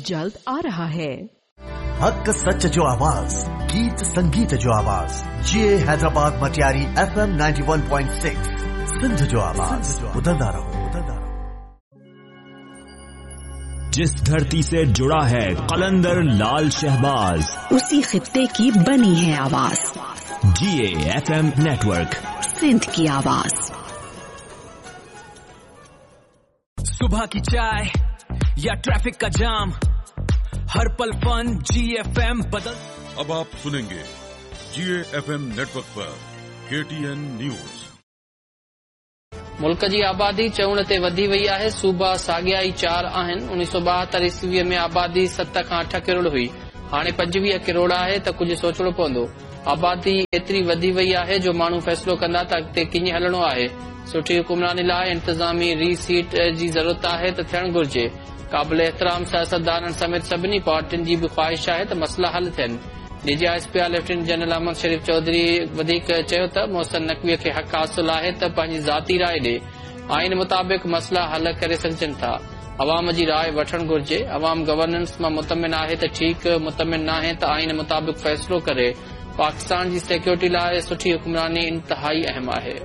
जल्द आ रहा है। हक सच जो आवाज़, गीत संगीत जो आवाज़, जी हैदराबाद मटियारी FM 91.6, Sindh जो आवाज़। ॿुधंदा रहो, ॿुधंदा रहो। जिस धरती से जुड़ा है कलंदर लाल शहबाज, उसी खित्ते की बनी है आवाज। जीए एफएम नेटवर्क, सिंध की आवाज। सुबह की चाय या ट्रैफिक का जाम, हर पल फन जीएफएम बदल। अब आप सुनेंगे जीएफएम नेटवर्क पर केटीएन न्यूज। मुल्क जी आबादी चऊण ते वधी वई आहे। सूबा साॻिया ई 4 आहिनि। 1972 ईस्वीअ में आबादी 7 खां 8 करोड़ हुई, हाणे 25 करोड़ आहे त कुझु सोचणो पवंदो। आबादी एतिरी वधी वई आहे जो माण्हू फ़ैसिलो कंदा त अॻिते कीअं हलणो आहे। सुठी हुकुमरानी लाइ इंतिज़ामी रीसीट जी ज़रूरत आहे त थियणु घुर्जे। क़ाबिल एहतराम सियासतदाननि समेत सभिनी पार्टियुनि जी बि ख़्वाहिश आहे त मसइला हल थियनि। DG ISPR lieutenant general Ahmed Sharif Chaudhry वधीक चयो त मोहसिन नकवीअ खे हक़ हासिल आहे त पंहिंजी ज़ाती राय ॾे। आइन मुताबिक़ मसइला हल करे सघजनि था। अवाम जी राय वठणु घुर्जे। अवाम गवर्नेंस मां मुतमिन आहे त ठीकु, मुतमिन नाहे त आइन मुताबिक़ फ़ैसिलो करे। पाकिस्तान जी सिक्योरिटी लाइ सुठी हुकुमरानी इंतिहाई अहम आहे।